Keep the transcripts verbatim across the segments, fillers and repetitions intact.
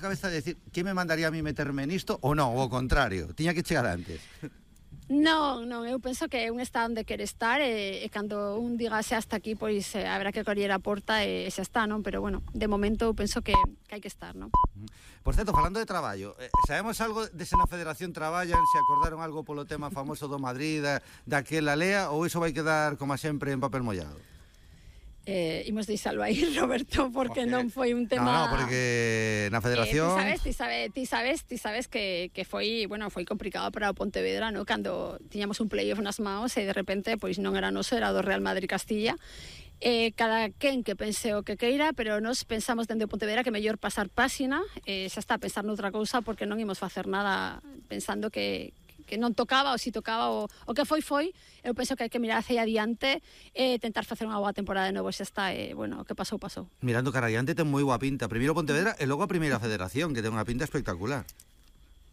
cabeza de decir que me mandaría a mí meterme nisto ou non, ou ao contrario, tiña que chegar antes? Non, non, eu penso que un está onde quere estar e, e cando un diga xa hasta aquí, pois eh, haberá que coller a porta e xa está, non? Pero bueno, de momento eu penso que, que hai que estar, non? Por certo, falando de traballo, eh, sabemos algo de se na Federación traballan, se acordaron algo polo tema famoso do Madrid, da, daquela lea, ou iso vai quedar, como sempre, en papel mollado? Eh, imos deixalo aí, Roberto, porque okay. non foi un tema... No, no, porque na Federación... Eh, ti sabes, ti sabes, ti sabes, ti sabes que, que foi, bueno, foi complicado para o Pontevedra, no? Cando tiñamos un playoff nas maos e de repente, pois non era noso, era do Real Madrid Castilla. Eh, cada quen que pense o que queira, pero nos pensamos dende o Pontevedra que mellor pasar páxina, eh, xa está a pensar noutra cousa, porque non imos facer nada pensando que... que non tocaba ou si tocaba o, o que foi foi. Eu penso que hai que mirar hacia adiante e tentar facer unha boa temporada de novo, xa está, e bueno, o que pasou, pasou. Mirando cara adiante ten moi boa pinta, primeiro Pontevedra e logo a primeira Federación, que ten unha pinta espectacular.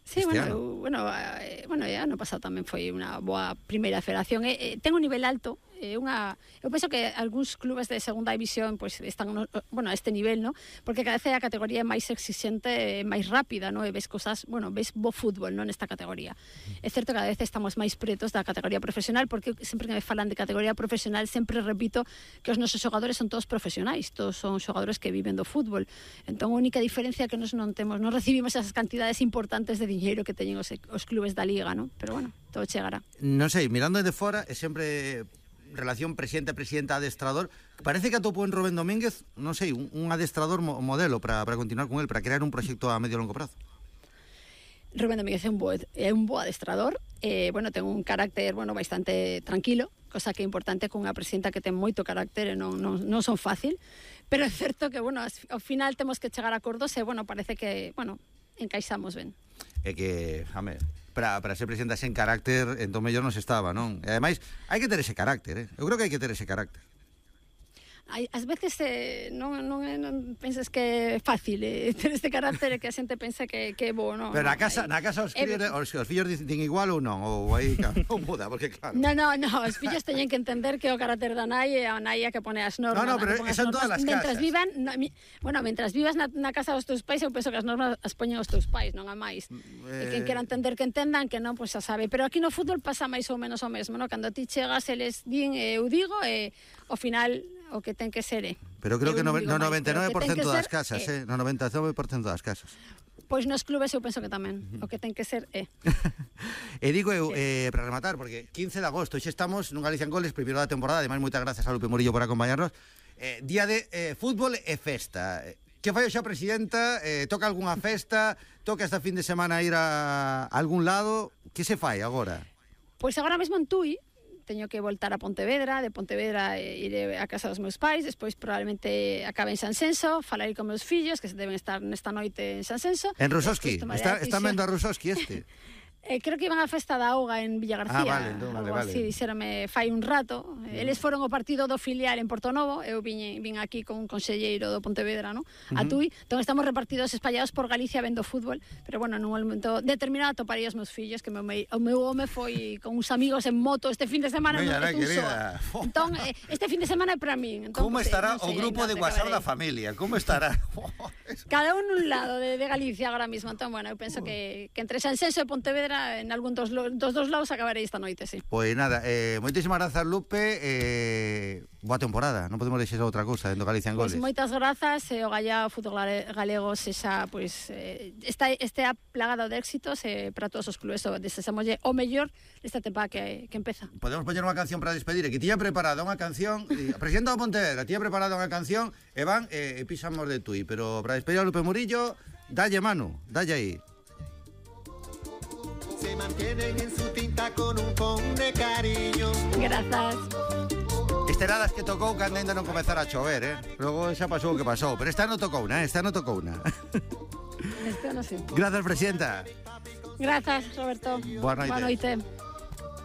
Sí, este bueno, eu, bueno, eh, bueno, ya no pasado tamén foi unha boa primeira federación. Eh, eh, ten un nivel alto, eh, unha, eu penso que algúns clubes de segunda división pues, están no, bueno, a este nivel, ¿no? Porque cada vez a categoría é máis exixente, máis rápida, ¿no? E ves cosas, bueno, ves bo fútbol, ¿no? Nesta categoría. É certo que cada vez estamos máis pretos da categoría profesional, porque sempre que me falan de categoría profesional sempre repito que os nosos xogadores son todos profesionais, todos son xogadores que viven do fútbol. Entón a única diferencia que nos non temos, non recibimos esas cantidades importantes de diñeiro que teñen os, os clubes da Liga, ¿no? Pero bueno, todo chegará. Non sei, mirando desde fora, é sempre relación presidente-presidenta adestrador, parece que atopou en Rubén Domínguez, non sei, un, un adestrador mo, modelo para, para continuar con él, para crear un proxecto a medio e longo prazo. Rubén Domínguez é un bo, é un bo adestrador, eh, bueno, ten un carácter, bueno, bastante tranquilo, cosa que é importante con unha presidenta que ten moito carácter e non, non, non son fácil, pero é certo que, bueno, ao final temos que chegar a acordos e, bueno, parece que, bueno, encaixamos ben. É que, jame, para, para ser presidenta sen carácter, entón mellor non se estaba, non? E ademais, hai que ter ese carácter, eh? Eu creo que hai que ter ese carácter. Hai, ás veces eh, non, non, non penses que é fácil eh, ter este carácter e que a xente pensa que, que é bo, non? Pero na casa, na casa os, críos, eh, os, os fillos dicen igual ou non? Ou aí non muda, porque claro... Non, non, non, os fillos teñen que entender que o carácter da nai é a nai a que pone as normas. No, no, pero son todas as casas. Mentras vivan, no, mi, bueno, mentras vivas na, na casa dos teus pais, eu penso que as normas as poñen os teus pais, non a máis. Eh... E quen quera entender que entendan, que non, pois pues, xa sabe. Pero aquí no fútbol pasa máis ou menos o mesmo, non? Cando ti chegas, eles din, eh, eu digo, e ao final o que ten que ser é. Pero creo que no, no noventa e nove por cento das casas, eh, no noventa e nove por cento das casas. Pois nos clubes eu penso que tamén, o que ten que ser é. E digo eu, eh, para rematar, porque quince de agosto, xa estamos nun Galicia en Goles, primeiro da temporada, ademais moitas grazas a Lupe Murillo por acompañarnos, eh, día de eh, fútbol e festa. Que fai xa presidenta? Eh, toca algunha festa? Toca esta fin de semana ir a algún lado? Que se fai agora? Pois agora mesmo en Tui, teño que voltar a Pontevedra, de Pontevedra eh, iré a casa dos meus pais, despois probablemente acabe en Sansenso, falarei con meus fillos que se deben estar nesta noite en Sansenso. En Rusoski, está, está vendo a Rusoski este? Eh, creo que iban a festa da auga en Villa García. Ah, vale, entón, vale, algo vale. así, dixérame fai un rato. Mm. Eles foron ao partido do filial en Portonovo, eu vin, vin aquí con un conselleiro do Pontevedra, no? Uh-huh. A Tui. Entón estamos repartidos espallados por Galicia vendo fútbol, pero bueno, nun momento determinado toparei os meus fillos, que meu, o meu home foi con uns amigos en moto este fin de semana. Mira, no, querida. Entón, eh, este fin de semana é para min. Entón, como pues, estará eh, no o sei, grupo de WhatsApp da familia? Como estará? Cada un un lado de, de Galicia agora mismo. Entón, bueno, eu penso que, que entre Sansenso e Pontevedra en algún dos, dos dos lados acabarei esta noite, sí. Pois nada, eh, moitísimas grazas, Lupe, eh, boa temporada, non podemos deixar outra cousa dentro Galicia en Goles. Pois moitas grazas, e eh, o Gallá, o fútbol galego sexa, pois, eh, esta, este plagado de éxitos eh, para todos os clubes, o deseamolle o mellor desta temporada que, que empeza. Podemos poñer unha canción para despedir, que tiña preparada unha canción, a presidenta do Pontevedra tiña preparada unha canción, e van e eh, pisamos de Tui, pero para despedir a Lupe Murillo, dalle mano, dalle aí. Se mantienen en su tinta con un pon de cariño. Grazas. Esteladas que tocou cando ainda non comezara a chover, eh? Logo xa pasou o que pasou, pero esta non tocou na, esta non tocou na. Este non sei. Grazas, presidenta. Grazas, Roberto. Boa noite. Boa noite.